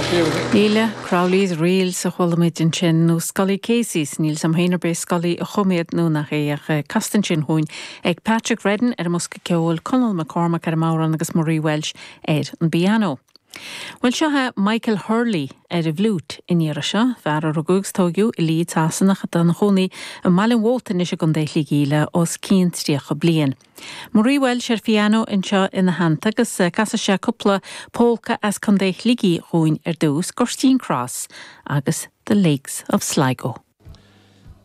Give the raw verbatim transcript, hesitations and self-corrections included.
Leila Crowley's Reels a chuala muid ansin nó Scully Casey's níl sam héar bé Scully a choméad nó nach é ach casta sin chugainn ag Patrick Redden ar an mbosca ceoil Conall McCormack ar an mbodhrán agus Marie Welsh ar an bpianó. Well seo é Michael Hurley ar an bhfliúit an iarraidh seo, fear a rugadh agus tógadh i Leeds Shasana atá ina chónaí i mBaile an Mhóta anois i gContae Shligigh le os cionn tríocha bliain. Marie Welsh ar pianó anseo ina theannta agus casfaidh sé cúpla polca as Contae Shligigh chugainn ar dtús Gurteen Cross agus The Lakes of Sligo.